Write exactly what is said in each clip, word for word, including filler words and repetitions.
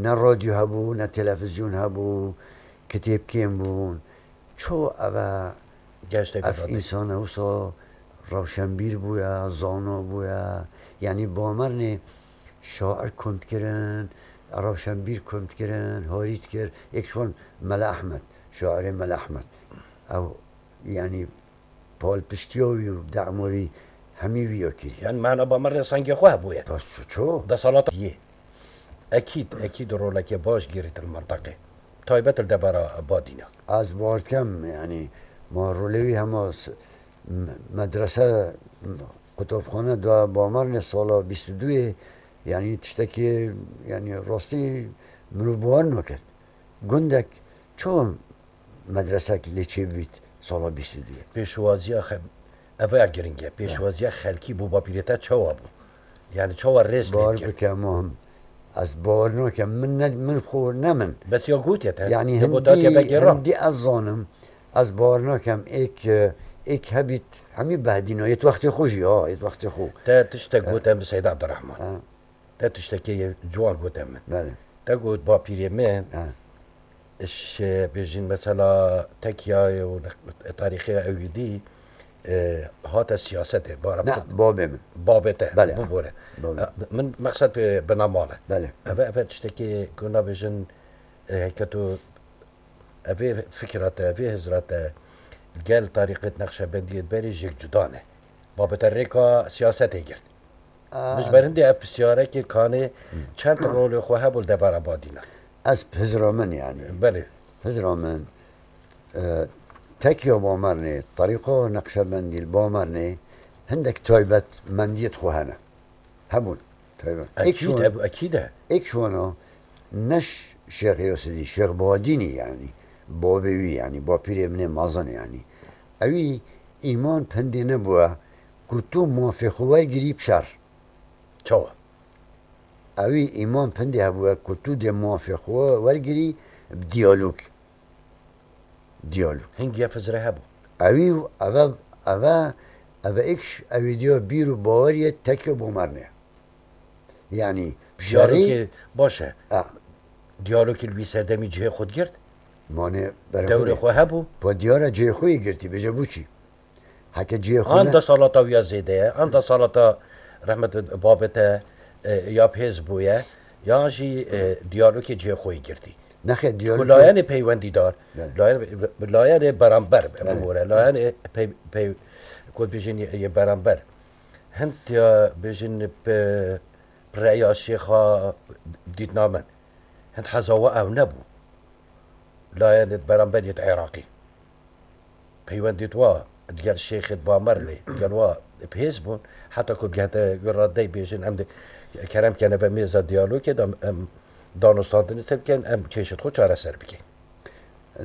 Ne radyo hebû, ne televîzyon hebû, kitêb kêm bûn. Çawa ev e, Geştê ev bidatê. Însana wisa rewşenbîr bûye, zana bûye. Yanî Bamernê şair kom dikirin, rewşenbîr kom dikirin, harî dikir. Êk ji wan Mele Ehmed, şairê Mele Ehmed. Ew, yanî, palpiştiya wî û dema wî hemî wî ya kirî. Yanî mehna Bamernê sengê xwe hebûye. Bes ço? Desalata yê. Ekîd, ekîd rolekê baş girît li menteqê. Taybet li devera Badîna. Ez bawer dikem, yanî, ma rolê wî hema s-, m-, medrese, m-, qutabxane da Bamernê sala bîst û duyê, yanî tiştekî, yanî rastî mirov bawer nake. Gundek çawa medresek lê çêbît sala bîst û duyê? Pêşwaziya xe-, ev ya giring e. Pêşwaziya xelkî bo bapîrê te çawa bû? Yani çawa rêz lê Bawer dikir? bike, Muhim. Ez bawer nakem. Min ne, min xwe ne min. Bes ya gotiye te. Yani Ya hindî, gotiye te vegera. hindî ez zanim. Ez bawer nakem. Êk, êk hebît, hemî behdîna. Yê wextê xwe jî, ha, yê wextê xwe. Te tiştek Ha. gote bi Seyda Abdurrahman. Ha. Te tiştekê yê ciwan gote min. Belê. Te got bapîrê min, Ha. iş, e, bêjin mesela tekiyayê û tarîxê ew yî dî, e, hate siyasetê, bara Ne, babê min. Babê te, Belê, ha. bibore. Babê. E, min mexsed bi, bina mal e. Belê. Eve, eve tiştekê ku nabêjin, e, heke tu Evê fikra te, evê hizra te gel tarîqet Neqşebendiyê berê jêk cuda ne. Babete rêka siyasetê girt. Aa. Min ji ber hindê ev pisyareke kanê çend rolê xwe hebû li devera Badîna. Ez hizra min yani. Belê. Hizra min, e, tekiya Bamernê, tarîqa Neqşebendî li Bamernê hindek taybetmendiyê xwe hene. Hebûn. Tabii. Ekîd, Ek şuan, ev ekîd e. Ek şuana ne Ş-, Şêx Yasidî, Şêx Badînî yani. Babê wî yani, bapîrê min ê mezin yani. Ewî îman pindê nebûye ku tu mafê xwe wergirî bi şer. Çawa? Ewî îman pindê hebûye ku tu dê mafê xwe wergirî bi diyalog. Diyalog. Hingî ev hizre hebû. Ewî, eve, eve, eve êk ş-, ewî diya bîr û baweriyê tekê Bomernê. Yani, şerî Diyalogê baş e. Ha. Diyalogê li wî serdemî cihê xwe digirt. Mane Dewrê xwe hebû. Pa diyar e cihê xwe yê girtî, bêje bû çi? Heke cihê xwe An ne- desalata wî ya zêde ye, an desalata rehmet babete, e, ya bi hêz bûye, yan jî, e, diyalogê cihê xwe yê girtî. Nexê Ku diyalogê layene peywendîdar, Belê. layene, layene beramber, Belê. bibore, layene pey, pey, ku dibêjin yê, yê beramber. Hind ya bêjin bi, bi reya şêxa dîtina min. Hind heza we ew nebû. Layene beramber yê Iraqî. Peywendê wa digel şêxê Bamernê, digel wa bi hêz bûn, heta ku bigehte wê radeyê bêjin, em de kerem kene ve mêza diyalogê de em danûstandinê ser bikin, em kêşê xwe çareser bikin.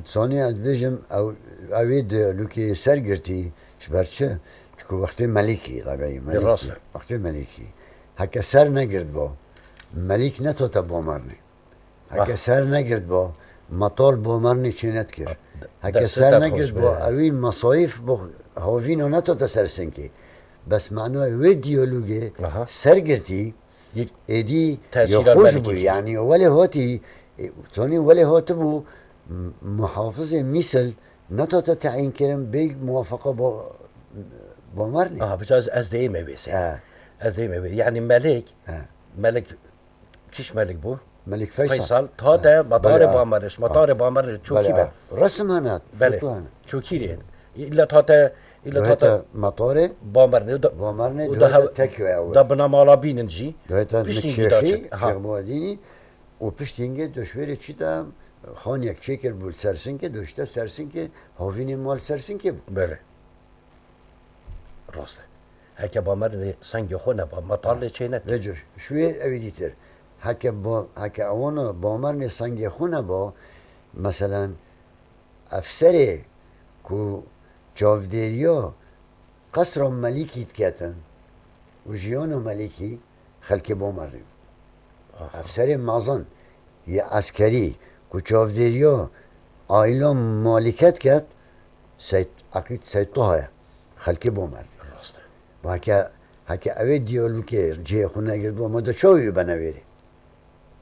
Sonê ez dibêjim, ew, ew ê diyalogê ser girtî, ji ber çi? Çiku wextê Melîkî, tabî, Melîkî. Rast e. Wextê Melîkî. Heke ser negirtba, Melîk netote Bamernê. Heke Wah. ser negirtba, metal Bomernê çê nedikir. Heke Destê ser te xweş negirtba, be. ewî mesayîf bo havîna netote ser sinkê. Bes manoyê wê diyalogê Aha. ser girtî, Yek êdî tesîra ya xweş Melîkî bû. kir. Yani welê hatî, e, tonî welê hatibû, m-, muhafizê Mîsil netote teyîn kirin bê muwafaqa bo, Bomernê. Aha, bica ez, ez deyime vê sê. He. Ez deyime vê. Yani Melek, He. Melek Kîş Melik bû? Melik Feysal. Feysal, tate Ha, matarê belê, ha. Bamerê, ji matarê Bamerê çokî Belê, be. ha. Resim hene, Belê. foto hene. Çokî rê. Îlla tate, îlla Dohete tate matarê Bamerê, da, Bamerê, û dohete daha, tekiye ew. da binamala bînin jî. Dohete Piştî Nikşêxî, gîda çi. Ha. Şêx Badînî, û piştî hingê doşverê çi de xaniyek çêkir bû Sersinkê, doşte Sersinkê, havînê mal Sersinkê bû. Belê. Rast e. Heke Bamerê sengê xwe neba, metal lê çê neke. Vêco, şûyê ewî dîtir. Heke ba-, heke ewana Bamernê sengê xwe neba, meselen, efserê ku çavdêriya qesra Melîkî diketin û jiyana Melîkî, xelkê Bamerê. Aha. Efserê mezin yê eskerî ku çavdêriya aîla Malîke diket, Seyd, Eqîd Seyd Toha ye. Xelkê Bamerê. Rast e. Heke, heke ew ê diyalogê cihê xwe negirtibû, ma da çawa wî benevêrê?